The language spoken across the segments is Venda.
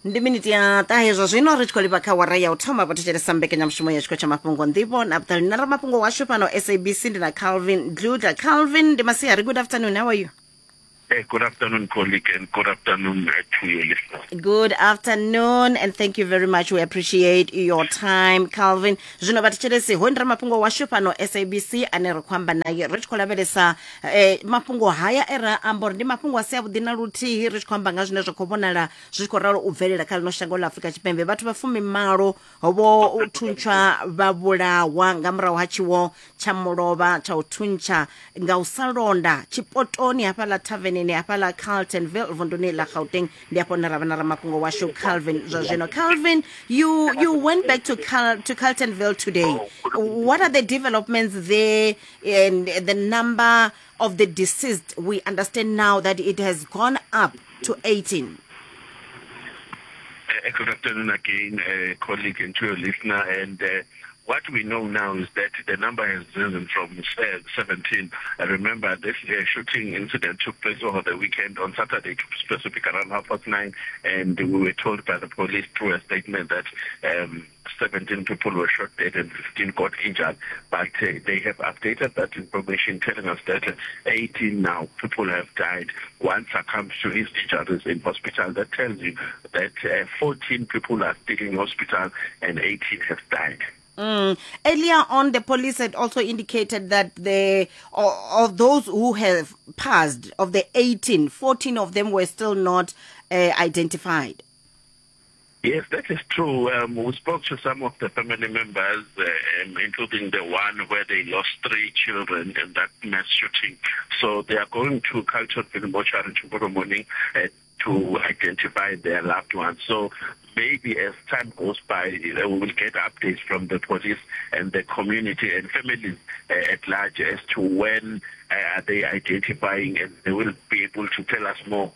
Ndi miniti ya ṱahe zwa zwino ri tshi khou livha kha wara ya u thoma vho thetshelesa mbekanyamushumo ya tshiko tsha mafhungo nḓivho na vhuṱali na ramafhungo washu fhano SABC ndi na Calvin Dludla. Calvin, ndi masiari, good afternoon, how are you? Good afternoon, colleague, and good afternoon to your listeners. Good afternoon, and thank you very much. We appreciate your time, Calvin. Zwino vha thetshelesi, hoyu ndi ramafhungo washu fhano SABC ane ri khou amba naye ri tshi khou lavhelesa mafhungo haya e ra amba uri ndi mafhungo a si avhuḓi na luthihi, ri tshi khou amba nga zwine zwa khou vhonala zwi tshi khou ralo u bvelela kha ḽino shango ḽa Afrika Tshipembe. Vhathu vha fumimalo vho thuntshwa vha vhulawa nga murahu ha tshiwo tsha mulovha tsha u thuntsha nga u sa londa tshipotoni hafhaḽa thaveneni hafhaḽa Carltonville vunduni ḽa Gauteng. Ndi hafho hune ra vha na ramafhungo washu Calvin zwa zwino. Calvin, you went back to Carltonville today. What are the developments there and the number of the deceased? We understand now that it has gone up to 18. Good afternoon again, colleague, and to your listener. And what we know now is that the number has risen from 17. Remember, this shooting incident took place over the weekend on Saturday, to be specific, around 9:30, and we were told by the police through a statement that 17 people were shot dead and 15 got injured. But they have updated that information, telling us that 18 now people have died. One succumbed to his injuries in hospital. That tells you that 14 people are still in hospital and 18 have died. Earlier on, the police had also indicated that of those who have passed, of the 18, 14 of them were still not identified. Yes, that is true. We spoke to some of the family members, including the one where they lost 3 children in that mass shooting. So they are going to Carltonville Mortuary tomorrow morning to identify their loved ones. So maybe as time goes by, we will get updates from the police and the community and families at large as to when are they identifying, and they will be able to tell us more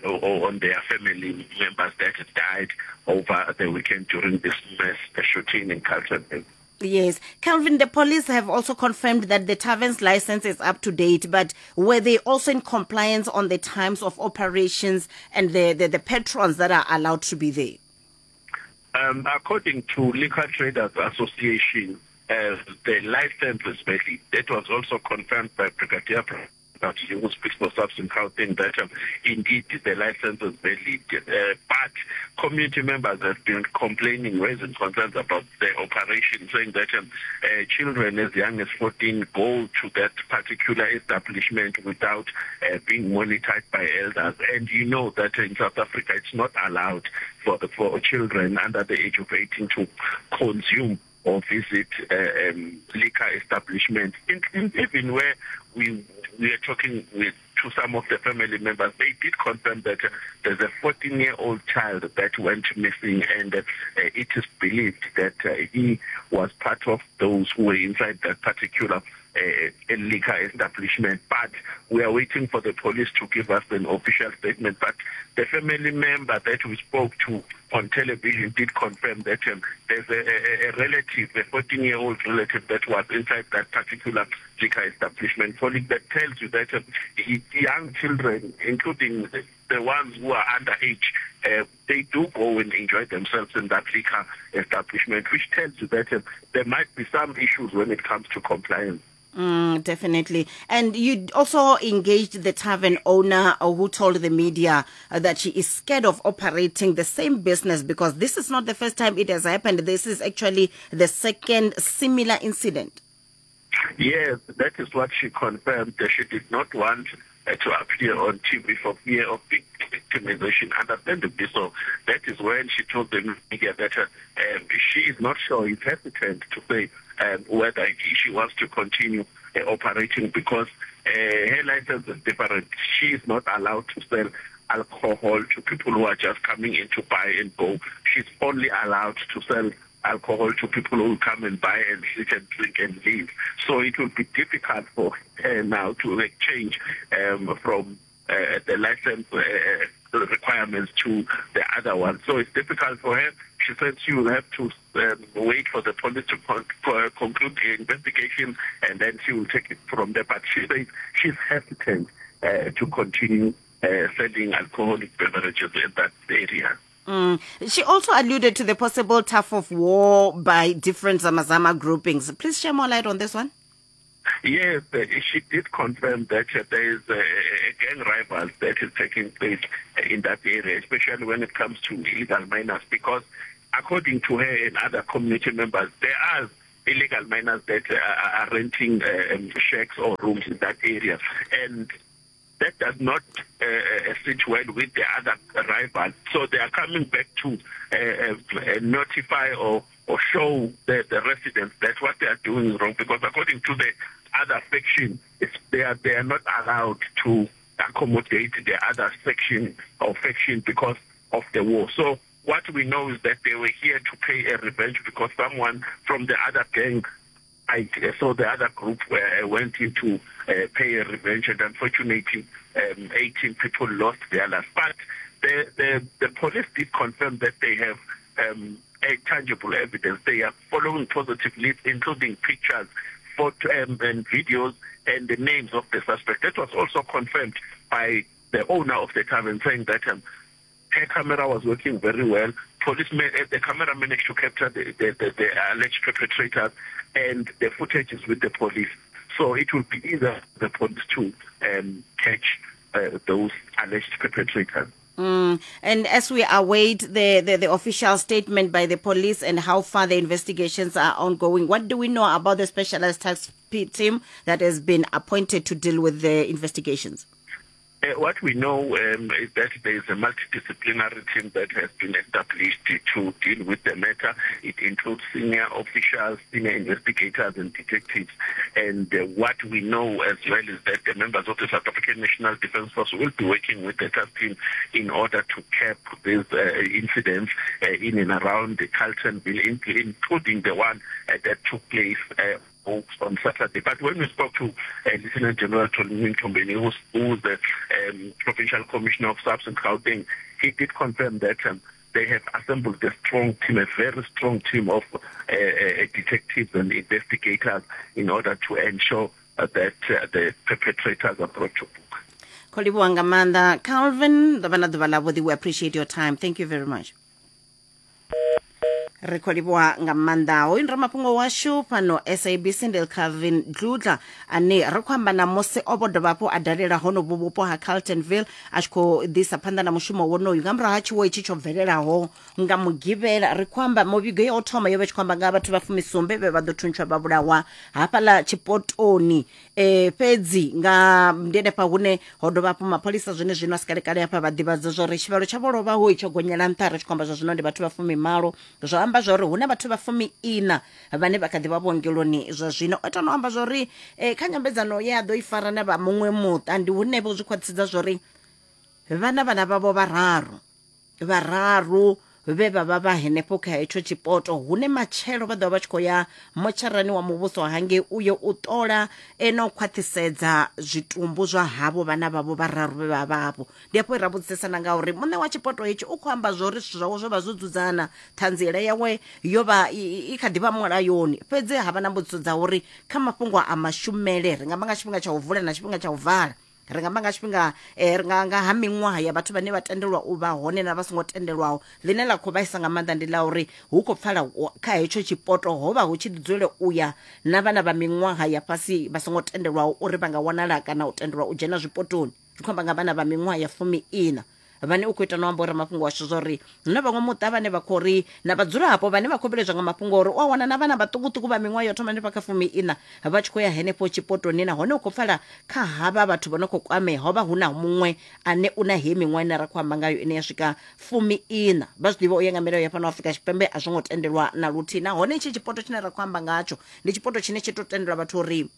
on their family members that died over the weekend during this mass shooting in Carltonville. Yes. Calvin, the police have also confirmed that the tavern's license is up to date, but were they also in compliance on the times of operations and the patrons that are allowed to be there? According to Liquor Traders Association, the license is valid. That was also confirmed by Brigadier who speaks for SAPS in Gauteng, that indeed the license is valid. But community members have been complaining, raising concerns about the operation, saying that children as young as 14 go to that particular establishment without being monitored by elders. And you know that in South Africa it's not allowed for children under the age of 18 to consume or visit liquor establishments. Even where we are talking to some of the family members, they did confirm that there's a 14-year-old child that went missing, and it is believed that he was part of those who were inside that particular liquor establishment. But we are waiting for the police to give us an official statement. But the family member that we spoke to on television did confirm that there's a relative, a 14-year-old relative that was inside that particular liquor establishment. So that tells you that young children, including the ones who are underage, they do go and enjoy themselves in that liquor establishment, which tells you that there might be some issues when it comes to compliance. Definitely. And you also engaged the tavern owner who told the media that she is scared of operating the same business because this is not the first time it has happened. This is actually the second similar incident. Yes, that is what she confirmed. She did not want to appear on TV for fear of victimization, understandably so. That is when she told the media that she is not sure, is hesitant to say whether she wants to continue operating because her license is different. She is not allowed to sell alcohol to people who are just coming in to buy and go. She's only allowed to sell alcohol to people who come and buy and sit and drink and leave. So it will be difficult for her now to change from the license requirements to the other one. So it's difficult for her. She said she will have to wait for the police to conclude the investigation, and then she will take it from there. But she says she's hesitant to continue selling alcoholic beverages in that area. She also alluded to the possible tough of war by different Zamazama groupings. Please share more light on this one. Yes, she did confirm that there is a, a gang rival that is taking place in that area, especially when it comes to illegal miners, because according to her and other community members, there are illegal miners that are renting shacks or rooms in that area. And that does not sit well with the other rivals. So they are coming back to notify or, or show the, the residents that what they are doing is wrong because according to the other faction, it's, they, are, they are not allowed to accommodate the other section or faction because of the war. So what we know is that they were here to pay a revenge because someone from the other gang I, so the other group went in to pay a revenge, and unfortunately, 18 people lost their lives. But the, the, the police did confirm that they have a tangible evidence. They are following positive leads, including pictures, photo, and videos, and the names of the suspect. That was also confirmed by the owner of the tavern, saying that her camera was working very well. Police, the camera managed to capture the, the, the, the alleged perpetrators, and the footage is with the police. So it will be either the police to catch those alleged perpetrators. And as we await the, the, the official statement by the police and how far the investigations are ongoing, what do we know about the specialized task team that has been appointed to deal with the investigations? What we know is that there is a multidisciplinary team that has been established to deal with the matter. It includes senior officials, senior investigators and detectives. And what we know as well is that the members of the South African National Defence Force will be working with the task team in order to cap these incidents in and around the Carltonville, including the one that took place on Saturday. But when we spoke to Lieutenant General Tony Mthombeni, who's, who's the Provincial Commissioner of SAPS in Gauteng, he did confirm that they have assembled a strong team, a very strong team of detectives and investigators in order to ensure that the perpetrators are brought to book. Khou livhuwa nga maanḓa Calvin, ḓo vha na ḓuvha ḽavhuḓi. We appreciate your time. Thank you very much. Ri khou livhuwa nga maanḓa hoyu ndi ramafhungo washu fhano SABC ndi Calvin Dludla ane ri khou amba na musi o vho dovha hafhu a dalela honovhu vhupo ha Carltonville a tshi khou ḓisa phanḓa na mushumo wonoyu nga murahu ha tshiwo itshi tsho bvelelaho nga mugivhela. Ri khou amba muvhigo ya u thoma yo vha tshi khou amba nga vhathu vha fumisumbe vhe vha ḓo thuntshwa vha vhulawa hafhaḽa tshipotoni e, fhedzi nga ndi henefha hune ho dovha hafhu mapholisa zwene zwino a si kalekale hafha vha ḓivhadza zwa uri tshivhalo tsha vho lovhaho tsho gonyela nṱha ri tshi khou amba zwa zwino ndi vhathu vha fumimalo zwo amba zwa uri hu na vhathu vha fumi ina vhane vha kha ḓi vha vhuongeloni zwa zwino. O ita no amba zwa uri e, kha nyambedzano ye a ḓo i fara na vha muṅwe muṱa ndi hune vho zwi khwaṱhisedza zwa uri vhana vhana vhavho vhararu vhararu vhe vha vha vha henefho kha hetsho tshipoto hune matshelo vha ḓo vha vha tshi khou ya motsharani wa muvhuso hangei uyo u ṱola e na u khwaṱhisedza zwitumbu zwa havho vhana vhavho vhararu vhe vha vha hafho. Ndi hafho ra vhudzisesana nga uri muṋe wa tshipoto hetshi u khou amba zwa uri zwithu zwawe zwo vha zwo dzudzana, ṱhanziela yawe yo vha i kha ḓi vha mulayoni, fhedzi ha vha na mbudziso dza uri kha mafhungo a mashumele ri nga amba nga tshifhinga tsha u vula na tshifhinga tsha u vala, ri nga amba nga tshifhinga eh, ri nga nga ha miṅwaha ya vhathu vhane vha tendelwa u vha hone na vha songo tendelwaho. Ḽine ḽa khou vhaisa nga maanḓa ndi ḽa uri hu khou pfala kha hetsho tshipoto ho vha hu tshi ḓi dzule u ya na vhana vha miṅwaha ya fhasi vha songo tendelwaho uri vha nga wanala kana u tendelwa u dzhena zwipotoni. Ri khou amba nga vhana vha miṅwaha ya fumi ina vhane u khou ita no amba uri mafhungo ashu zwa uri hu na vhaṅwe muṱa vhane vha khou ri na vhadzulapo vhane vha khou vhiledzwa nga mafhungo uri u a wana na vhana vhaṱukuṱuku vha miṅwaha yo thoma hanefha kha fumi ina vha tshi khou ya henefho tshipotoni nahone u khou pfala kha havha vhathu vho no khou kwamea ho vha hu na muṅwe ane u na hei miṅwaha ine ra khou amba ngayo ine ya swika fumi ina. Vha zwi ḓivha u ya nga milayo ya fhano Afrika Tshipembe a zwo ngo tendelwa na luthihi nahone itshi tshipoto tshine ra khou amba ngatsho ndi tshipoto tshine tshi tou tendelwa vhathu uri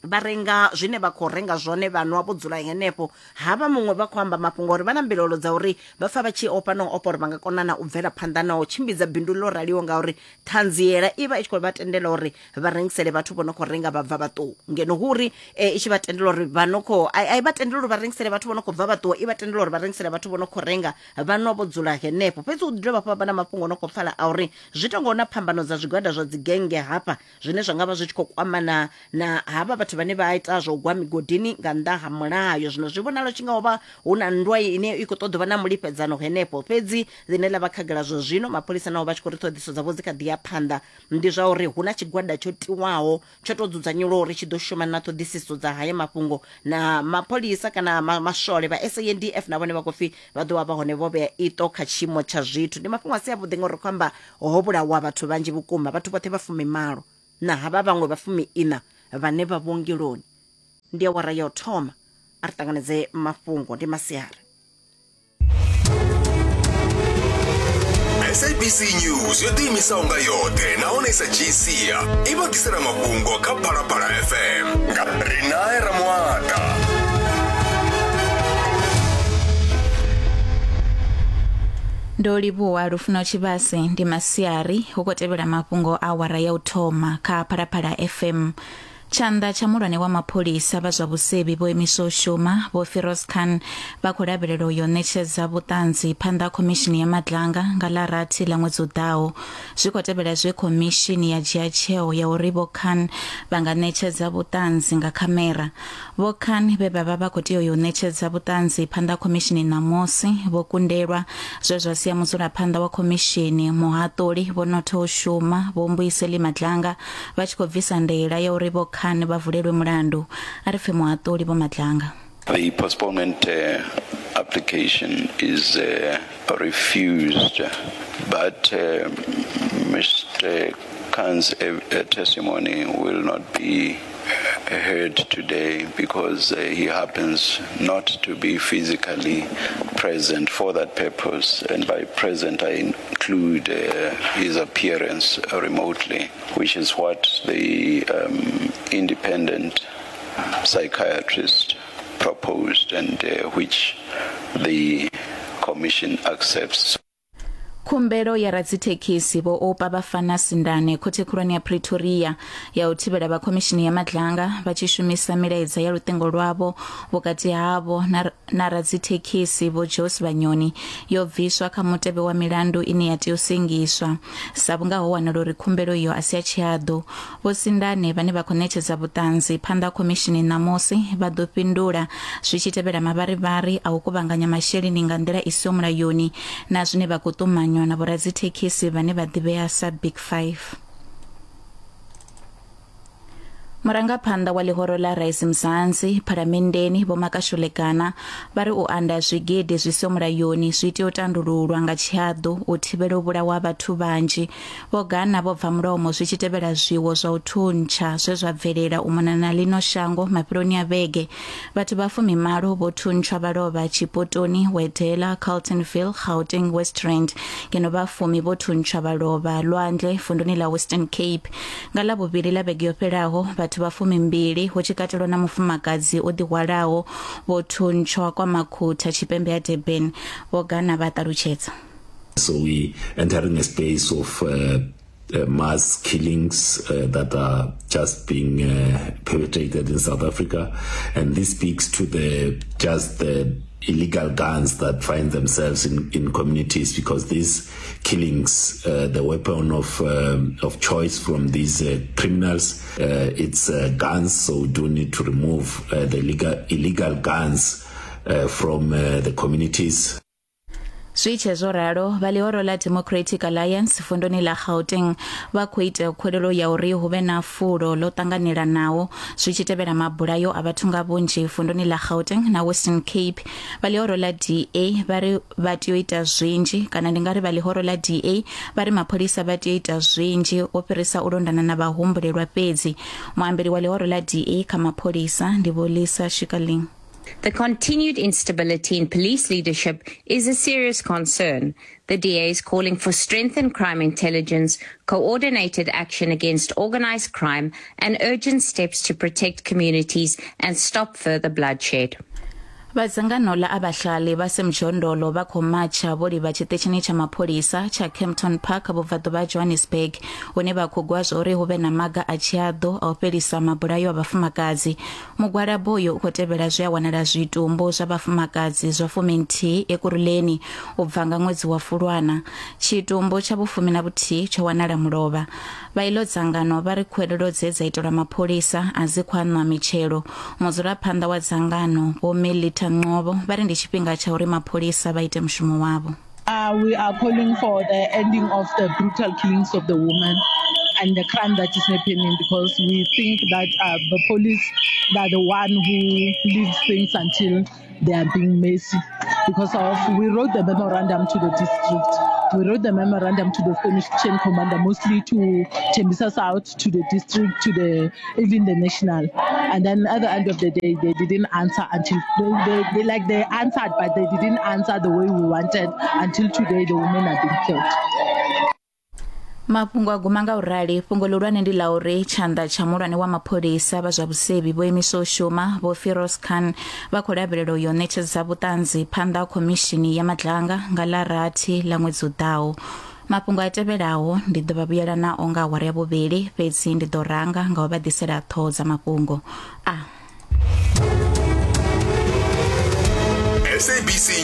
vha renga zwine vha khou renga zwone vha nwa vho dzula henefho. Havha muṅwe vha khou amba mafhungo uri vha na mbilaelo dza uri vha pfa vha tshi ofha na u ofha uri vha nga kona na u bvela phanḓa na u tshimbidza bindu ḽo raliho ngauri ṱhanziela i vha i tshi khou vha tendela uri vha rengisele vhathu vho no khou renga vha bva vha ṱuwa ngeno hu uri i tshi vha tendela uri vha no khou a i vha tendela uri vha rengisele vhathu vho no khou bva vha ṱuwa i vha tendela uri vha rengisele vhathu vho no khou renga vha nwa vho dzula henefho. Fhedzi hu ḓi dovha hafhu ha vha na mafhungo o no khou pfala a uri zwi tonga hu na phambano dza zwigwada zwa dzigennge hafha zwine zwa nga vha zwi tshi khou kwamana na havha vhathu. vhathu vhane vha ita zwa u gwa migodini nga nnḓa ha mulayo. Zwino zwi vhonala tshi nga ho vha hu na nndwa ine i khou ṱoḓa u vha na mulifhedzano henefho, fhedzi ḽine ḽa vha khagala zwa zwino mapholisa naho vha tshi khou ri ṱhoḓisiso dzavho dzi kha ḓi ya phanḓa ndi zwa uri hu na tshigwada tsho tiwaho tsho tou dzudzanyelwa uri tshi ḓo shuma na ṱhoḓisiso dza haya mafhungo na mapholisa kana maswole vha SANDF na vhone vha khou pfi vha ḓo vha vha hone vho vhea iṱo kha tshiimo tsha zwithu. Ndi mafhungo a si avhuḓi ngauri ri khou amba ho vhulawa vhathu vhanzhi vhukuma, vhathu vhoṱhe vha fumimalo na havha vhaṅwe vha fumi-iṋa vhane vha vhuongeloni. Ndi awara ya u thoma, a ri ṱanganedze mafhungo, ndi masiari. SABC News yo ḓiimisaho nga yoṱhe nahone i sa dzhii sia i vha ḓisela mafhungo kha Phalaphala FM nga Rinae Ramuata. Ndo livhuwa Lufuno Tshivhase. Ndi masiari hu khou tevhela mafhungo a awara ya u thoma kha Phalaphala FM. Tshanḓa tsha muhulwane wa mapholisa vha zwa vhusevhi vho imiswa u shuma, Vho Firoz Khan vha khou lavhelelwa u yo ṋetshedza vhuṱanzi phanḓa ha khomishini ya Madlanga nga ḽa rathi ḽa ṅwedzi u ḓaho. Zwi khou tevhela zwe khomishini ya dzhia tsheo ya uri Vho Khan vha nga ṋetshedza vhuṱanzi nga khamera. Vho Khan vhe vha vha vha khou tea u yo ṋetshedza vhuṱanzi phanḓa ha khomishini ṋamusi, vho kundelwa, zwe zwa sia mudzulaphanḓa wa khomishini, muhaṱuli Vho Notho u shuma, Vho Mbuyiseli Madlanga vha tshi khou bvisa ndaela ya uri Vho Khan vha vulelwe mulandu. A ri pfe muhaṱuli Vho Madlanga. The postponement uh, application is uh, refused, but uh, Mr. Khan's uh, testimony will not be heard today because uh, he happens not to be physically present for that purpose. And by present, I include uh, his appearance remotely, which is what the um, independent psychiatrist proposed and uh, which the commission accepts. Khumbelo ya radzithekhisi Vho Oupa Bafana Sindane khothe khulwane ya Pretoria ya u thivhela vha khomishini ya Madlanga vha tshi shumisa milaedza ya luṱingo lwavho vhukati havho na, na radzithekhisi Vho Jos Vhanyoni yo bviswa kha mutevhe wa milandu ine ya tea u sengiswa sa vhunga ho wanala uri khumbelo iyo a si ya tshihaḓu. Vho Sindane vhane vha khou ṋetshedza vhuṱanzi phanḓa ha khomishini ṋamusi vha ḓo fhindula zwi tshi tevhela mavharivhari a u kuvhanganya masheleni nga nḓila i siho mulayoni na zwine vha khou ṱumanywa na vhoradzithekhisi vhane vha ḓivhea sa Big Five. Murangaphanḓa wa ḽihoro ḽa Rise Mzansi phalamenndeni Vho Makashule Gana vha ri u anda zwigidi zwi siho mulayoni zwi tea u tandululwa nga tshihaḓu u thivhela u vhulawa vhathu vhanzhi. Vho Gana vho bva mulomo zwi tshi tevhela zwiwo zwa u thuntsha zwe zwa bvelela u mona na ḽino shango mafheloni a vhege. Vhathu vha fumimalo vho thuntshwa vha lovha Tshipotoni, Wedela, Carltonville, Gauteng, West Rand, ngeno vha fumi vho thuntshwa vha lovha Lwandle, vunduni ḽa Western Cape. Nga Ḽavhuvhili ḽa vhege yo fhelaho, vhathu vha fumimbili, hu tshi katelwa na mufumakadzi o ḓihwalaho, vho thuntshwa kwa Makhutha, tshipembe ha Durban, Vho Gana vha ṱalutshedza. So we entering a space of uh, uh, mass killings uh, that are just being uh, perpetrated in South Africa, and this speaks to the just the illegal guns that find themselves in, in communities because these killings, uh, the weapon of um, of choice from these uh, criminals, uh, it's uh, guns. So we do need to remove uh, the illegal illegal guns uh, from uh, the communities. Zwi tshe zwo ralo, vha ḽihoro ḽa Democratic Alliance vunduni ḽa Gauteng vha khou ita khuwelelo ya uri hu vhe na fulo ḽo ṱanganelanaho zwi tshi tevhela mabulayo a vhathu nga vhunzhi vunduni ḽa Gauteng na Western Cape. Vha ḽihoro ḽa DA vha ri vha tea u ita zwinzhi kana ndi nga ri vha ḽihoro ḽa DA vha ri mapholisa vha tea u ita zwinzhi u fhirisa u londana na vhahumbulelwa fhedzi. Muambeli wa ḽihoro ḽa DA kha mapholisa ndi Vho Lisa Shikaling. The continued instability in police leadership is a serious concern. The DA is calling for strengthened crime intelligence, coordinated action against organized crime, and urgent steps to protect communities and stop further bloodshed. Vha dzangano ḽa Abahlali vha Semjondolo vha khou matsha vho livha tshiṱitshini tsha mapholisa tsha Kempton Park vhubvaḓuvha ha Johannesburg hune vha khou gwa zwauri hu vhe na maga a tshiaḓo a u fhelisa mabulayo a vhafumakadzi. Mugwalabo uyu u khou tevhela zwe a wanala zwitumbu zwa vhafumakadzi zwa fuminthihi Ekurhuleni u bva nga ṅwedzi wa Fulwana. Tshitumbu tsha vhufumi na vhuthihi tsho wanala mulovha. Vha iḽo dzangano vha ri khuwelelo dze dza itelwa mapholisa a dzi khou aṋwa mitshelo. Mudzulaphanḓa wa dzangano, Vho Melita Ncobo, vha ri ndi tshifhinga tsha uri mapholisa vha ite mushumo wavho. We are calling for the ending of the brutal killings of the women and the crime that is happening, because we think that the police are the one who leaves things until they are being messy. Because of we wrote the memorandum to the district, we wrote the memorandum to the Spanish chain commander, mostly to Tembisa South, to the district, to the even the national. And then at the end of the day, they didn't answer until they answered, but they didn't answer the way we wanted until today. The women are being killed. Mafhungo a guma nga u rali. Fhungo ḽihulwane ndi ḽa uri tshanḓa tsha muhulwane wa mapholisa vha zwa vhusevhi vho imiswa u shuma Vho Firoz Khan vha khou lavhelela u yo ṋetshedza vhuṱanzi phanḓa ha khomishini ya Madlanga nga ḽa rathi ḽa ṅwedzi u ḓaho. Mafhungo a tevhelaho ndi ḓo vha vhuyela nao nga awara ya vhuvhili, fhedzi ndi ḓo ranga nga u vha ḓisela ṱhoho dza mafhungo a SABC.